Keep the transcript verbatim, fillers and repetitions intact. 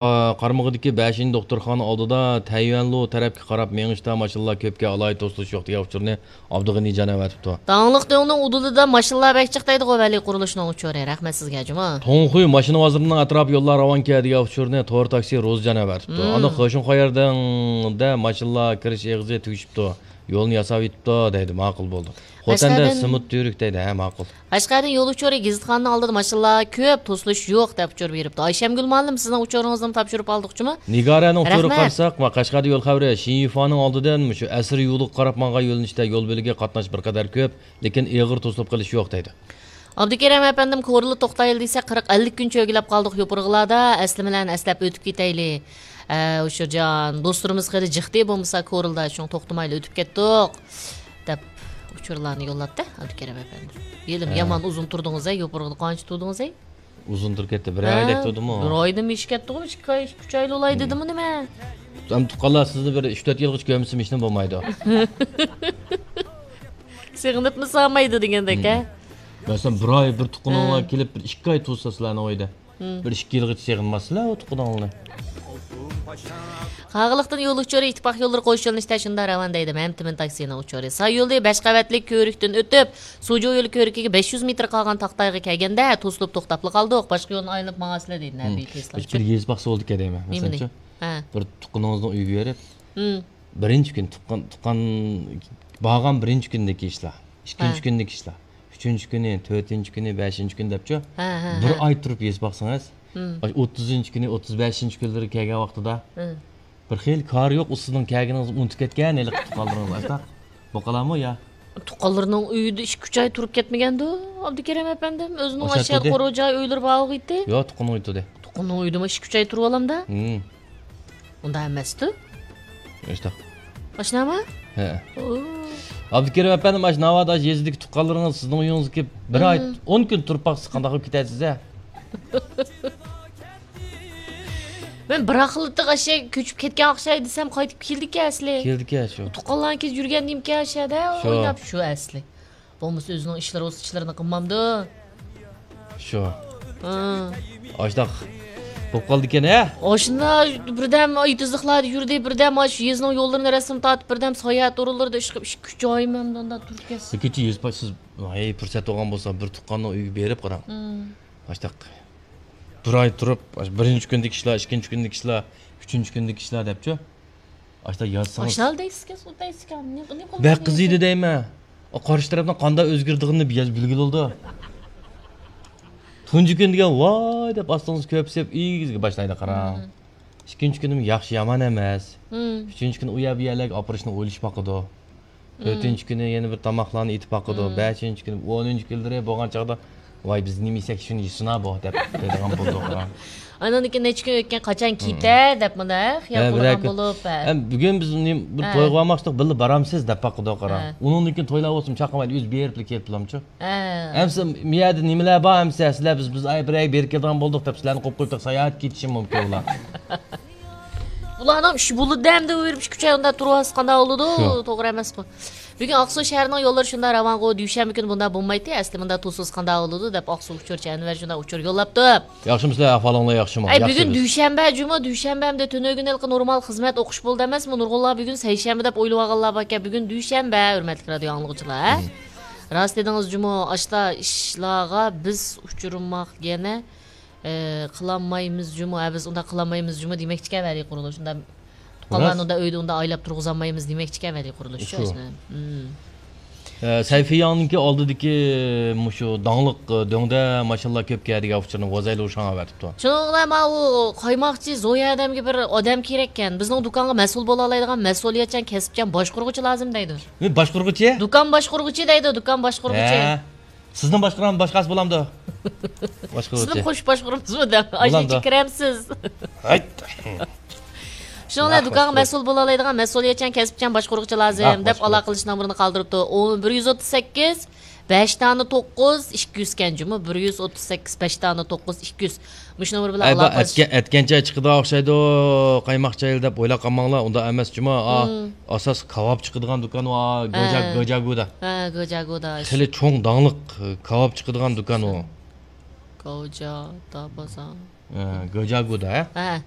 قارمىغىدىكى بەشىنچى دوختۇرخانا ئالدىدا تەييۈەنلۇ تەرەپكە قاراپ مېڭىشتا ماشىنىلار كۆپكەن، ئالاھىدە توسۇلۇش يوق دېگەن ئۇچۇرنى ئابدۇغېنى جان ئەۋەتىپتۇ. داڭلىق دۆڭنىڭ ئۇدۇلىدا ماشىنىلار بەك جىق دەيدىغۇ ۋەلى قۇرۇلۇشنىڭ ئۇچۇرى. رەھمەت سىزگە جۇمۇ. توڭخۇي ماشىنا بازىرىنىڭ ئەتراپى يوللار راۋانكەن دېگەن ئۇچۇرنى تور تاكسى روزى جان ئەۋەتىپتۇ. ئاندىن خېشۇڭ خايەردىڭدە ماشىنىلار كىرىش ئېغىزى تۈگىشىپتۇ. يولنى ياساۋېتىپتۇ دەيدۇ، ماقۇل بولدى. خوتەندە قەشقەردىن سېمونت تۈۋرۈك دەيدۇ، ھە، ماقۇل. قەشقەردىن يول ئۇچۇرى گېزىتخانىنىڭ ئالدىدا ماشىنىلار كۆپ، توسۇلۇش يوق دەپ ئۇچۇر بېرىپتۇ. ئايشەمگۈل مۇئەللىم، سىزنىڭ ئۇچۇرىڭىزنىمۇ تاپشۇرۇپ ئالدۇقچىمۇ؟ نىگارەنىڭ ئۇچۇرىغا قارىساق، ما، قەشقەردە يول خەۋىرى، شىنيۇفانىڭ ئالدىدىن مۇشۇ ئەسىر يولىغا قاراپ ماڭغان يۆنىلىشتە يول بۆلىكى قاتناش بىر قەدەر كۆپ، لېكىن ئېغىر توسۇلۇپ قېلىش يوق دەيدۇ. ئابدۇكېرىم ئەپەندىم، كورلا توختايلى دېسە، قىرىق ئەللىك كۈن چۆگىلەپ قالدۇق يوپۇرغىلاردا، ئەسلىمىلەرنى ئەسلەپ ئۆتۈپ كېتەيلى. ئە، ئۇچۇرجان، دوستلىرىمىز خېلى جىقتى بولمىسا كورلىدا، شۇڭا توختىمايلا ئۆتۈپ كەتتۇق، دەپ ئۇچۇرلارنى يوللاپتۇ ئابدۇكېرىم ئەپەندىم. ھېلىمۇ يامان ئۇزۇن تۇردىڭىز ھەي، يوپۇرغىدا قانچە تۇردىڭىز ھەي؟ ئۇزۇن تۇرۇپ كەتتى، بىر ئايدەك تۇردىمۇ؟ بىر ئايدىن ئېشىپ كەتتىغۇ، ئىككى ئاي، ئۈچ ئايلا بولاي دېدىمۇ نېمە؟ ئەمدى تۇغقانلار سىزنى بىر ئۈچ تۆت يىلغىچە كۆرمىسە ھېچنېمە بولمايدۇ. سېغىنىپمۇ سالمايدۇ دېگەندەك ھە؟ مەسىلەن، بىر ئاي بىر تۇغقىنىڭلار كېلىپ، بىر ئىككى ئاي تۇرسا سىلەرنىڭ ئۆيدە. بىر ئىككى يىلغىچە سېغىنماسسىلەر ئۇ تۇغقىنىڭلارنى. قاغىلىقتىن يول ئۇچۇرى ئىتتىپاق يوللىرى قوش يۆنىلىشتە شۇنداق راۋان دەيدۇ مەمتىمىن تاكسىنىڭ ئۇچۇرى. ساي يولى بەش قەۋەتلىك كۆۋرۈكتىن ئۆتۈپ، سۇجۇ يولى كۆۋرۈكىگە بەش يۈز مېتىر قالغان تاختايغا كەلگەندە توسۇلۇپ توختاپلا قالدۇق. باشقا يولنى ئايلىنىپ ماڭارسىلەر دەيدۇ نەبىي تېسلا. بىر يېزا باقسا بولىدىكەن دەيمەن. نېمىنى؟ مەسىلەن، ھە. بىر تۇغقىنىڭىزنىڭ ئۆيىگە بېرىپ، بىرىنچى كۈنى تۇغقان، تۇغقان بارغان بىرىنچى كۈنىدىكى ئىشلار، ئىككىنچى كۈنىدىكى ئىشلار، ئۈچىنچى كۈنى، تۆتىنچى كۈنى، بەشىنچى كۈنى دەپچۇ، ھە، ھە، بىر ھە. ئاي تۇرۇپ ھېساب باقسىڭىز، مم. ئاشۇ ئوتتۇزىنچى كۈنى، ئوتتۇز بەشىنچى كۈنلىرى كەلگەن ۋاقتىدا، مم. بىر خېلى كارى يوق، ئۇ سىزنىڭ كەلگىنىڭىزنى ئۇنتۇپ كەتكەن ھېلىقى تۇغقانلىرىڭىز ئاشۇنداق بولۇپ قالامۇ يا؟ تۇغقانلىرىنىڭ ئۆيىدە ئىككى، ئۈچ ئاي تۇرۇپ كەتمىگەندۇ، ئابدۇكېرىم ئەپەندىم؟ ئۆزىنىڭ ئاشۇ ئاشۇ يەردە قورۇ جاي، ئۆيلىرى بارغۇ ئىدى. ياق، تۇغقىنىنىڭ ئۆيىدە تۇردى. تۇغقىنىنىڭ ئۆيىدىمۇ ئىككى، ئۈچ ئاي تۇرۇۋالامدا؟ مم. ئۇنداق ئەمەستۇ؟ ئاشۇنداق. ئاشۇنداقمۇ؟ ھە. ئابدۇكېرىم ئەپەندىم، ئاشۇ ناۋادا ئاشۇ يېزىدىكى تۇغقانلىرىڭىز سىزنىڭ ئۆيىڭىزگە كېلىپ، بىر ئاي، مم. ئون كۈن تۇرۇپ باقسا قانداق بولۇپ كېتەرسىز ھە؟ مەن بىراقلا ئاشۇ كۆچۈپ كەتكەن ئوخشايدۇ دېسەم، قايتىپ كېلىدىكەن ئەسلى. كېلىدىكەن شۇ. تۇغقانلارنىڭ كېچە يۈرگەن نېمىكەن ئاشۇ يەردە؟ شۇ. ئويناپ شۇ ئەسلى. بولمىسا ئۆزىنىڭ ئىشلىرى بولسا ئىشلىرىنى قىلمامدۇ؟ شۇ. ھە. ئاشۇنداق بولۇپ قالىدىكەن ھە؟ ئاشۇنداق بىردەم ئېتىزلىقلاردا يۈردى، بىردەم ئاشۇ يېزىنىڭ يوللىرىنى رەسىم تارتىپ، بىردەم ساياھەت ئورۇنلىرىدا ئىشقىپ، ئىككى، ئۈچ ئاي مەن ئۇنداق تۇرۇپ كەتسە. كېچە يېزا باشسىز، ھەي، پۇرسەت بولغان بولسا، بىر تۇغقاننىڭ ئۆيىگە بېرىپ قاراڭ. مم. ئاشۇنداق بىر ئاي تۇرۇپ، بىرىنچى كۈندىكى ئىشلار، ئىككىنچى كۈندىكى ئىشلار، ئۈچىنچى كۈندىكى ئىشلار دەپچۇ. ئاشۇنداق يازسىڭىز. ئاشۇنداق دەيسىكەن، سۇ دەيسىكەن. نېمە، نېمە قىلدى بەك قىزىيدۇ دەيمەن. ئۇ قارشى تەرەپنىڭ قانداق ئۆزگىرىدىغىنىنى بىر ياز بىلگىلى بولىدۇ. تۇنجى كۈن دېگەن ۋاي دەپ ئاستىڭىزغا كۆپسىپ ئېگىزگە باشلايدۇ قاراڭ. مم. ئىككىنچى كۈنىمۇ ياخشى يامان ئەمەس. مم. ئۈچىنچى كۈنى ئۇ يەر بۇ يەرلەرگە ئاپىرىشنى ئويلىشىپ باقىدۇ. مم. تۆتىنچى كۈنى يەنە بىر تاماقلارنى ئېتىپ باقىدۇ. مم. بەشىنچى كۈنى، ئونىنچى كۈنلىرى بولغان چاغدا، ۋاي، بىز نېمە يېسەك شۇنى يېسۇنا بۇ، دەپ دەيدىغان بولدۇق. ئاندىن كېيىن نەچچە كۈن ئۆتكەن، قاچان كېتە دەپ مۇنداق خىيال قىلىدىغان بولۇپ، ھە. ھە، بۈگۈن بىز نېمە، بىر تويغا بارماقچىدۇق، بىللە بارامسىز دەپ باقىدۇ قاراڭ. ھە. ئۇنىڭدىن كېيىن تويلار بولسىمۇ چاقىرمايدۇ، ئۆزى بېرىپلا كېلىپ بولامچۇ؟ ھە. ئەمسە مۇ يەردە نېمىلەر بار ئەمسە، سىلەر بىز، بىز ئاي بىر ئاي بېرىپ كېلىدىغان بولدۇق دەپ سىلەرنى قويۇپ قويۇپ ساياھەتكە كېتىشى مۇمكىن ئۇلار. ئۇلارنىڭ ئىشى بولىدۇ ئەمدى، ئۇ بېرىپ ئىككى، ئۈچ ئاي ئۇنداق تۇرۇۋالسا قانداق بولىدۇ؟ شۇ. توغرا ئەمەسقۇ. بۈگۈن ئاقسۇ شەھىرىنىڭ يوللىرى شۇنداق راۋانغۇ، دۈشەنبە كۈنى بۇنداق بولمايتتى. ئەسلى مۇنداق تۇرسىز قانداق بولىدۇ دەپ ئاقسۇ ئۇچۇرچى ئەنۋەر شۇنداق ئۇچۇر يوللاپتۇ. ياخشىمۇسىلەر، ئەھۋالىڭلار ياخشىمۇ؟ ئەي، بۈگۈن دۈشەنبە، جۇمۇ، دۈشەنبە ئەمدى تۈنۈگۈن ھېلىقى نورمال خىزمەت ئوقۇش بولدى ئەمەسمۇ؟ نۇرغۇنلار بۈگۈن سەيشەنبە دەپ ئويلىۋالغانلار باركەن. بۈگۈن دۈشەنبە، ھۆرمەتلىك رادىيو ئاڭلىغۇچىلار. راست دېدىڭىز جۇمۇ، ئاشتا ئىشلارغا بىز ئۇچرىماق يەنە، ئە، قىلالمايمىز جۇمۇ، ھە، بىز ئۇنداق قىلالمايمىز جۇمۇ دېمەكچىكەن ۋەلى قۇرۇلۇش. ئۇنداق تۇغقانلارنى ئۇنداق ئۆيدە ئۇنداق ئايلاپ تۇرغۇزالمايمىز دېمەكچىكەن ۋەلى قۇرۇلۇش. شۇ. ئە، سەيفىياڭنىڭكى ئالدىدىكى مۇشۇ داڭلىق، ئە، دۆڭدە ماشىنىلار كۆپكەن دېگەن ئۇچۇرنى ۋازەيلى ئۇشاڭ ئەۋەتىپتۇ. شۇنىڭ بىلەن ماۋۇ قايماقچى زويا ئادەمگە بىر ئادەم كېرەككەن. بىزنىڭ دۇكانغا مەسئۇل بولالايدىغان مەسئۇلىيەتچان، كەسىپچان باشقۇرغۇچى لازىم دەيدۇ. نېمە باشقۇرغۇچى؟ دۇكان باشقۇرغۇچى دەيدۇ، دۇكان باشقۇرغۇچى. ھە. سىزنىڭ باشقۇرغان باشقاسى بولامدۇ؟ باشقۇرغۇچى. سىزنى قوشۇپ باشقۇرىمىزمۇ دەپ. ئاشۇ بولامدۇ؟ كىرەمسىز؟ ھەيت. شۇنىڭ بىلەن دۇكانغا مەسئۇل بولالايدىغان مەسئۇلىيەتچان، كەسىپچان باشقۇرغۇچى لازىم دەپ ئالاقىلىشىش نومۇرىنى قالدۇرۇپتۇ. ئۇ بىر يۈز ئوتتۇز سەككىز، بەش دانە توققۇز، ئىككى يۈز كەن جۇمۇ. بىر يۈز ئوتتۇز سەككىز، بەش دانە توققۇز، ئىككى يۈز. مۇشۇ نومۇر بىلەن ئەي، بۇ ئالاقىلىشىش. ئەتكەن، ئەتكەنچە چىقىدىغان ئوخشايدۇ، قايماق چايلى دەپ ئويلاپ قالماڭلار، ئۇنداق ئەمەس جۇمۇ. ئا، ئاساس كاۋاپ چىقىدىغان دۇكان ۋا، گوجا-، ھە. گوجاگۇدا. ھە، گوجاگۇدا. خېلى چوڭ داڭلىق، ئە، كاۋاپ چىقىدىغان دۇكان ئۇ. گوجادا بازار. گۆجاگۇدا. ھە.